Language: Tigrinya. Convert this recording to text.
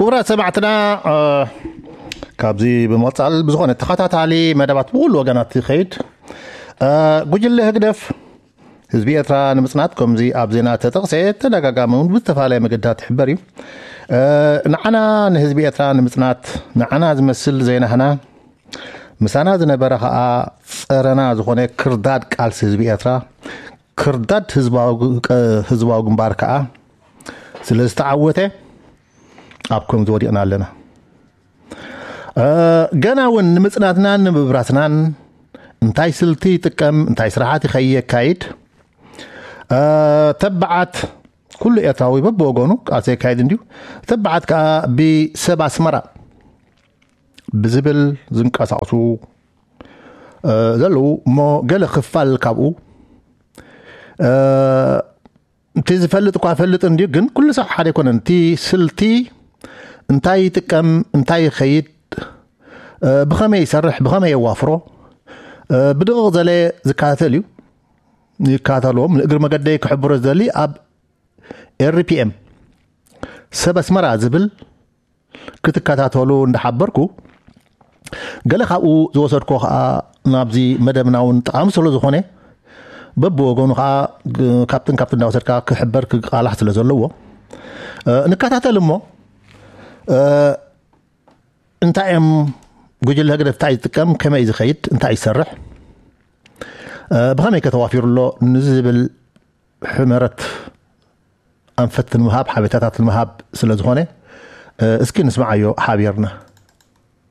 ክቡራት ሰማዕትና፣ እ፣ ካብዚ ብምቕጻል ብዝኾነ ተኸታታሊ መደባት ብኹሉ ወገናት ይኸይድ። እ፣ ጉጅለ ህግደፍ ህዝቢ ኤርትራ ንምጽናት፣ ከምዚ ኣብ ዜና ተጠቕሰ፣ ተደጋጋሚ እውን ብዝተፈላለየ መገድታት ይሕበር እዩ። እ፣ ንዓና ንህዝቢ ኤርትራ ንምጽናት፣ ንዓና ዝመስል ዘይናህና፣ ምሳና ዝነበረ ኸኣ ጸረና ዝኾነ ክርዳድ ቃልሲ ህዝቢ ኤርትራ፣ ክርዳድ ህዝባዊ ግ-፣ ህዝባዊ ግንባር ከኣ ስለ ዝተዓወተ፣ ኣብ ከምዚ ወዲቕና ኣለና። እ፣ ገና እውን ንምጽናትናን ንምብራስናን እንታይ ስልቲ ይጥቀም፣ እንታይ ስራሓት ይኸይ-፣ የካይድ፣ እ፣ ተባዓት ኩሉ ኤርትራዊ በብወገኑ ቃልሲ የካይድ እንድዩ። ተባዓት ከኣ ብሰብ ኣስመራ ብዝብል ዝንቀሳቕሱ፣ እ፣ ዘለዉ እሞ ገለ ክፋል ካብኡ፣ እ፣ እቲ ዝፈልጥ እኳ ፈልጥ እንድዩ፣ ግን ኩሉ ሰብ ሓደ ኣይኮነን። እቲ ስልቲ እንታይ ይጥቀም፣ እንታይ ይኸይድ፣ እ፣ ብኸመይ ይሰርሕ፣ ብኸመይ የዋፍሮ፣ እ፣ ብድቕቕ ዘለ ዝከታተል እዩ። ይከታተልዎም። ንእግሪ መገደይ ክሕብሮ ዝደሊ ኣብ ኤር ፒ ኤም ሰብ ኣስመራ ዝብል ክትከታተሉ እንዳሓበርኩ፣ ገለ ካብኡ ዝወሰድኮ ኸኣ ናብዚ መደብና እውን ጠቓሚ ስለ ዝኾነ፣ በብወገኑ ኸኣ ግ-፣ ካብትን ካብትን እንዳወሰድካ ክሕበር ክቃላሕ ስለ ዘለዎ፣ እ፣ ንከታተል እሞ፣ እ፣ እንታይ እዮም ጉጅለ ህግደፍ፣ እንታይ ዝጥቀም፣ ከመይ ዝኸይድ፣ እንታይ ይሰርሕ፣ እ፣ ብኸመይ ከተዋፊሩ ኣሎ ንዝብል ሕመረት ኣንፈት ንምሃብ፣ ሓበሬታታት ንምሃብ ስለ ዝኾነ፣ እ፣ እስኪ ንስምዓዮ ሓቢርና።